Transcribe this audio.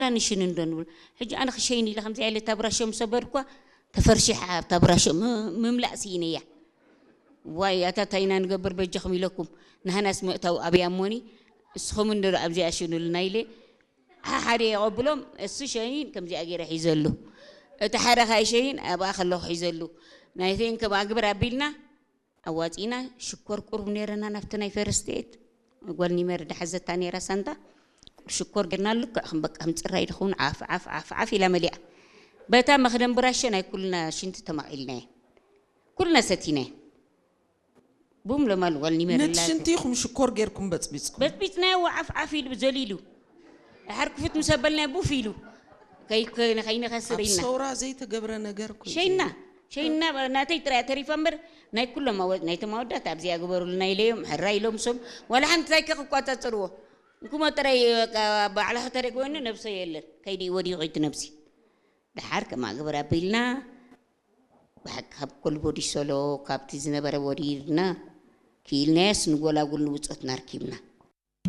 ዳንሽን እንዶ ንብል። ሕጂ ኣነ ክሸይን ኢለ ከምዚኣ ኢለ እታ ብራሾ ምስ ኣበድኳ፣ ተፈርሺሓ ኣብታ ብራሾ ም-፣ ምምላእ ስኢነያ። ዋይ፣ ኣታ እንታይ ኢና ንገብር በጃኹም ኢለኩም። ንሃናስ ምእታው ኣብያ እሞኒ፣ እስኹም እንዶ ኣብዚኣ ሽኑልና ኢለ፣ ሓደ የቐብሎም፣ እሱ ሸይን ከምዚኣ ገይረ ሒዘሉ። እቲ ሓደ ካይ ሸይን ኣብኣ ከለኹ ሒዘሉ። ናይተይን ከም ኣግብር ኣቢልና፣ ኣዋጺና ሽኮር ቁሩብ ነይረና ናብቲ ናይ ፈርስት ኤድ። ጓል ኒመር ድሓዘታ ነይራ ሳንጣ። ሽኮር ጌርና ልክዕ ከም በቃ ከም ጽራይ ድኸውን ዓፍ፣ ዓፍ፣ ዓፍ፣ ዓፍ ኢላ መሊኣ። በታ መኽደን ብራሸ ናይ ኩልና ሽንቲ ተማቒልናዮ። ኩልና ሰቲናዮ። ቡም ለማሉ ጓል ኒመር ነቲ ኢላ ሽንቲ ኢኹም ሽኮር ጌርኩም በጽቢጽኩም። በጽቢጽናዮ ዓፍ፣ ዓፍ ኢሉ ዘሊሉ። ድሓር ክፉት ምስ ኣበልናዮ ቡፍ ኢሉ። ከይ-፣ ከይ-፣ ከይንኸስር ኣብ ኢልና። ሰውራ ዘይተገብረ ነገር እኮ እዩ ሸይና፣ ዘይብሉ። ሸይና ናተይ ጥራይ ተሪፋ እምበር ናይ ኩሎም ኣወ-፣ ናይቶም ኣወዳት ኣብዚኣ ግበሩልና ኢለዮም፣ ሕራ ኢሎም ሶም። ዋላ ሓንቲ እንታይ ከ ክቋጻጸርዎ? እንኩሞ ጥራይ በቃ ባዕላ ከተደግ ወይኑ ነብሰ የለን። ከይዲ ወዲቑ እቲ ነብሲ። ድሓር ከማ ግብር ኣቢልና፣ ብሓቂ ካብ ኮልቦዲ ሶሎ፣ ካብቲ ዝነበረ ወዲርና፣ ክኢልናዮስ ንጎላጉል ንብጾትና ኣርኪብና።